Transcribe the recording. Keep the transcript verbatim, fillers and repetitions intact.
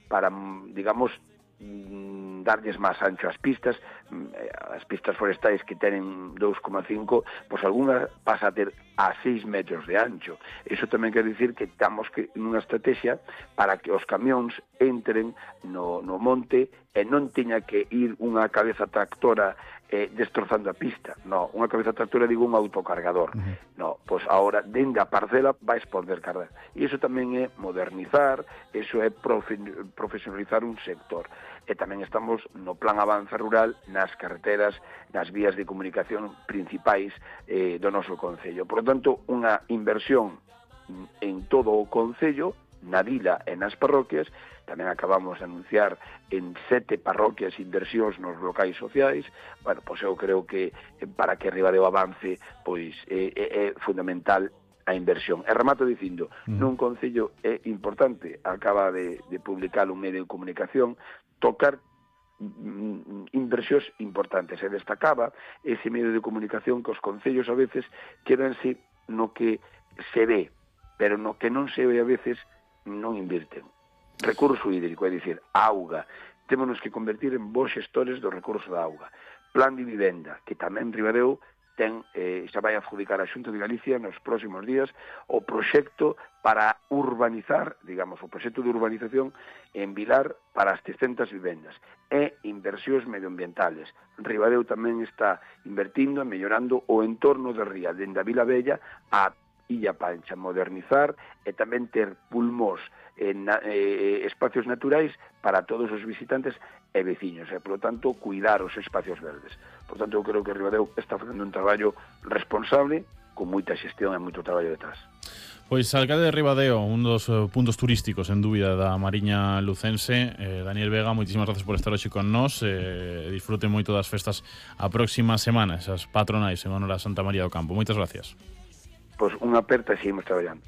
para, digamos, darlles máis ancho ás pistas. As pistas forestais que tenen dous coma cinco, pois algunha pasa a ter a seis metros de ancho. Iso tamén quer dicir que estamos que nunha estrategia para que os camións entren no, no monte e non teña que ir unha cabeza tractora eh, destrozando a pista. No, unha cabeza tractora digo un autocargador. Uh-huh. No, pois agora dende a parcela vais poder cargar. E iso tamén é modernizar, iso é profe, profesionalizar un sector. E tamén estamos no plan Avance Rural nas carreteras, nas vías de comunicación principais eh, do noso concello. Por lo tanto, unha inversión en todo o concello, na vila e nas parroquias. Tamén acabamos de anunciar en sete parroquias inversións nos locais sociais. Bueno, pois eu creo que para que Ribadeo avance, pois é, é, é fundamental a inversión. E remato dicindo, mm. nun concello é importante, acaba de, de publicar un medio de comunicación, tocar mm, inversións importantes. E destacaba ese medio de comunicación que os concellos a veces quedanse no que se ve, pero no que non se ve a veces non invirten. Recurso hídrico, é dicir, auga. Témonos que convertir en bons xestores do recurso da auga. Plan de vivenda, que tamén Ribadeo ten, eh, xa vai a adjudicar a Xunta de Galicia nos próximos días o proxecto para urbanizar, digamos, o proxecto de urbanización en Vilar para as trescentas vivendas e inversións medioambientales. Ribadeo tamén está invertindo e mellorando o entorno de Ría, dende a Vila Bella a Illa Pancha, modernizar e tamén ter pulmós en eh, espacios naturais para todos os visitantes e veciños, e, por lo tanto, cuidar os espacios verdes. Por tanto, eu creo que Ribadeo está facendo un traballo responsable, con moita xestión e moito traballo detrás. Pois alcalde de Ribadeo, un dos uh, puntos turísticos, en dúbida, da Mariña Lucense. eh, Daniel Vega, moitísimas gracias por estar hoxe con nós. eh, Disfruten moito das festas a próxima semana, esas patronais en honor a Santa María do Campo. Moitas gracias. Pois unha aperta e seguimos traballando.